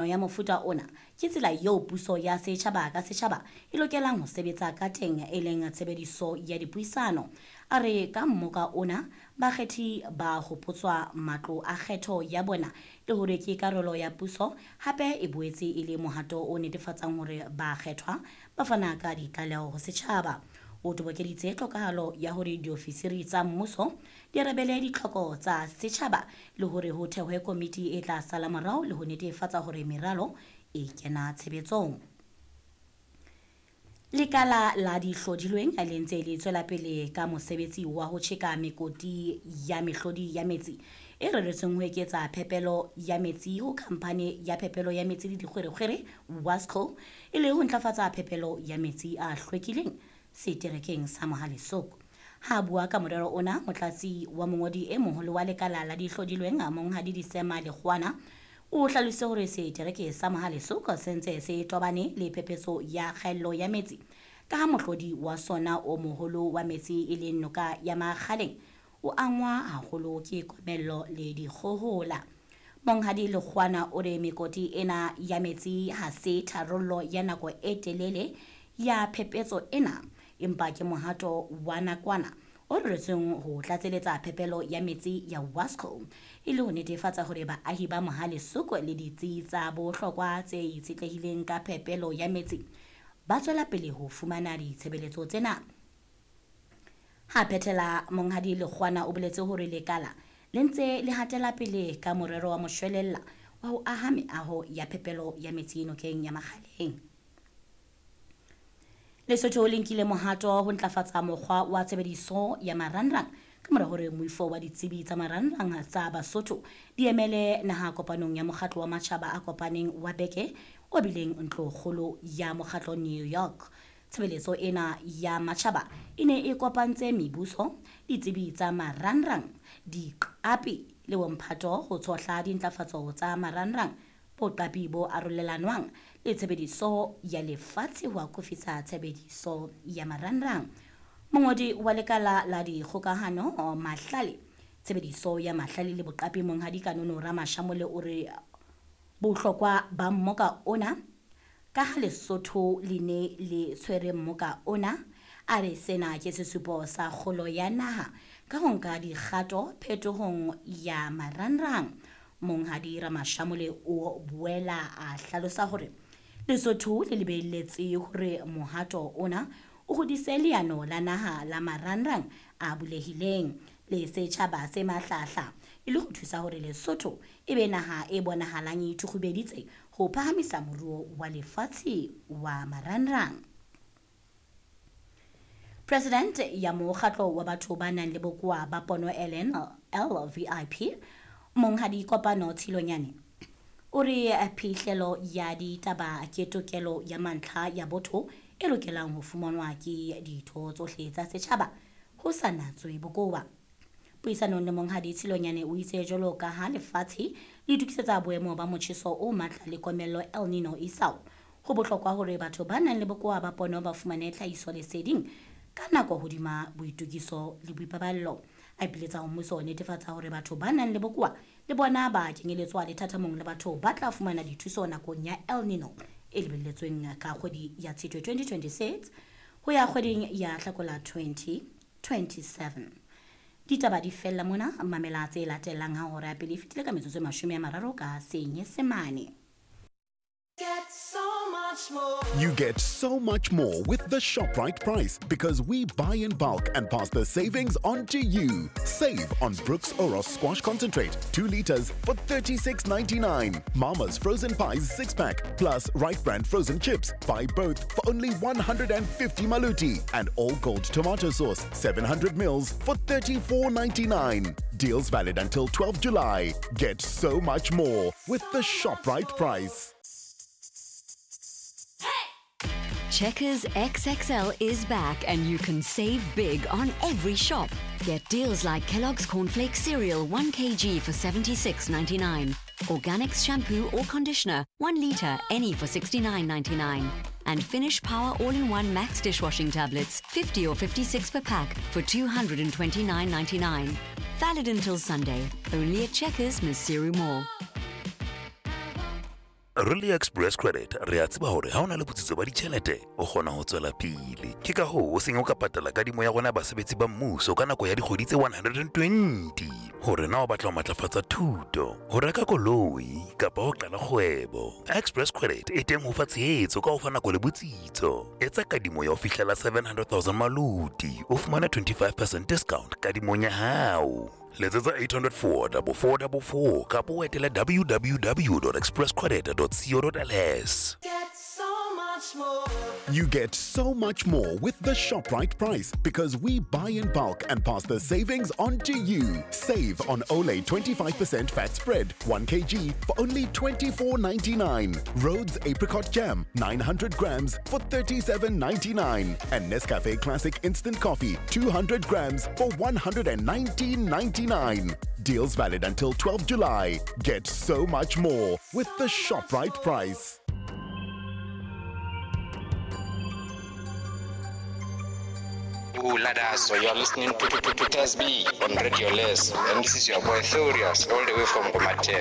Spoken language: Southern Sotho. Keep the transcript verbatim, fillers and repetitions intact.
Ya mofuta ona ke tsela eo puso ya setjhaba ka setjhaba e lokelang ho sebetsa ka teng, e leng tshebediso ya dipuisano. A re ka mmoka ona bakgethi ba hopotswa matlo a kgetho ya bona le hore ke karolo ya puso, hape e boetse e le mohato o netefatsang hore bakgethwa ba fana ka ditlaleho ho setjhaba. O tobokeditse tlhokahalo ya hore diofisiri tsa mmuso di arabele ditlhoko tsa setjhaba le hore ho thehwe komiti e tla sala morao le ho netefatsa hore meralo e kena tshebetsong. Lekala la dihlodilweng le ntse le tswela pele ka mosebetsi wa ho tjheka mekoti ya mehlodi ya metsi e reretsweng ho eketsa phepelo ya metsi ho khamphane ya phepelo ya metsi le dikgwerekgwere WASCO, e le ho ntlafatsa phepelo ya metsi a hlwekileng seterekeng sa Mohale's Hoek. Ha bua ka morero ona, motlatsi wa mongodi e moholo wa lekala la dihlodilweng, Monghadi Disema Lekgwana, o hlalositse hore setereke sa Mohale's Hoek se ntse se tobane le phephetso ya kgaello ya metsi ka ha mohlodi wa sona o moholo wa metsi, e leng noka ya Makgaleng, o angwa haholo ke komello le dikgohola. Monghadi Lekgwana o re mekoti ena ya metsi ha se tharollo ya nako e telele ya phephetso ena, empa ke mohato wa nakwana o reretsweng ho tlatseletsa phepelo ya metsi ya WASCO e le ho netefatsa hore baahi ba Mohale's Hoek le ditsi tsa bohlokwa tse itshetlehileng ka phepelo ya metsi ba tswela pele ho fumana ditshebeletso tsena. Ha phethela, Monghadi Lekgwana o boletse hore lekala le ntse le hatela pele ka morero wa moshwelella wa ho aha meaho ya phepelo ya metsi nokeng ya Makgaleng. Lesotho le nkile mohato ho ntlafatsa mokgwa wa tshebediso ya marangrang ka mora hore moifo wa ditsebi tsa marangrang tsa Basotho di emele naha kopanong ya Mokgatlo wa Matjhaba a Kopaneng wa beke o bileng ntlokgolo ya mokgatlo New York. Tshebeletso ena ya matjhaba e ne e kopantse mebuso, ditsebi tsa marangrang, diqapi le bomphato ho tshohla dintlafatso tsa marangrang, boqapi bo arolelanwang le tshebediso ya lefatshe ho akofisa tshebediso ya marangrang. Mongodi wa lekala la dikgokahano, mahlale, tshebediso ya mahlale le boqapi, Monghadi Kanono Ramashamole, o re bohlokwa ba mmoka ona ka ha Lesotho le ne le tshwere mmoka ona, a re sena ke sesupo sa kgolo ya naha ka ho nka dikgato phetohong ya marangrang. Monghadi Ramashamole o boela a hlalosa hore Lesotho le lebelletse hore mohato ona o hodise leano la naha la marangrang a bulehileng le setjhaba se mahlahla, e le ho thusa hore Lesotho e be naha e bonahalang e ithukgubeditse ho phahamisa moruo wa lefatshe wa marangrang. President ya mokgatlo wa batho ba nang le bokowa ba pono, Ellen L V I P, Monghadi Kopano Tshilonyane, o re phihlelo ya ditaba ke tokelo ya mantlha ya botho e lokelang ho fumanwa ke ditho tsohle tsa setjhaba ho sa natswe bokowa. Puisanong le Monghadi Tshilonyane, o itse jwalo ka ha lefatshe le itokisetsa boemo ba motjheso o matla le komello El Nino isao, ho bohlokwa hore batho ba nang le bokowa ba pono ba fumane tlhahisoleseding ka nako hodima boitokiso le boipaballo. A ipiletsa ho mmuso ho netefatsa hore batho ba nang le bokowa le bona ba kenyeletswa lethathamong le batho ba tla fumana dithuso nakong ya El Nino e lebelletsweng ka kgwedi ya Tshitwe twenty twenty-six ho ya kgweding ya Hlakola twenty twenty-seven. Ditaba di fella mona. Mamela tse latelang ha hora ya pele e fetile ka metsotso e mashome a mararo ka Senyesemane. Get so much more. You get so much more with the ShopRite price because we buy in bulk and pass the savings on to you. Save on Brooks Oros Squash Concentrate, two liters for thirty-six ninety-nine. Mama's Frozen Pies six pack plus Right Brand frozen chips. Buy both for only one hundred fifty maluti, and All Gold tomato sauce seven hundred mils for thirty-four ninety-nine. Deals valid until twelve July. Get so much more with the ShopRite price. Checkers X X L is back and you can save big on every shop. Get deals like Kellogg's Cornflakes cereal one kilogram for seventy-six ninety-nine, Organics shampoo or conditioner one litre any for sixty-nine ninety-nine, and Finish Power All-in-One Max dishwashing tablets fifty or fifty-six per pack for two hundred twenty-nine ninety-nine. Valid until Sunday. Only at Checkers Maseru Mall. Re le Express Credit re a tseba hore ha o na le botsitso ba ditjhelete o kgona ho tswela pele. Ke ka hoo o seng o ka patala kadimo ya rona basebetsi ba mmuso ka nako ya dikgwedi tse one hundred and twenty. Hore na o batla ho matlafatsa thuto, ho reka koloi kapa ho qala kgwebo. Express Credit e teng ho fa tshehetso ka ho fa nako le botsitso. Etsa kadimo ya ho fihlela seven hundred thousand maluti, o fumane twenty-five percent discount kadimong ya hao. Letsetsa eight hundred four double four double four kapa o etele w w w dot express credit dot co dot l s. Get so much more. You get so much more with the ShopRite price because we buy in bulk and pass the savings on to you. Save on Olay twenty-five percent fat spread, one kilogram for only twenty-four ninety-nine. Rhodes Apricot Jam, nine hundred grams for thirty-seven ninety-nine. And Nescafe Classic Instant Coffee, two hundred grams for one hundred and nineteen ninety-nine. Deals valid until twelfth July. Get so much more with the ShopRite price. So you are listening to, to, to, to Taz B on Radio Les, and this is your boy Thurias, all the way from Gomatel.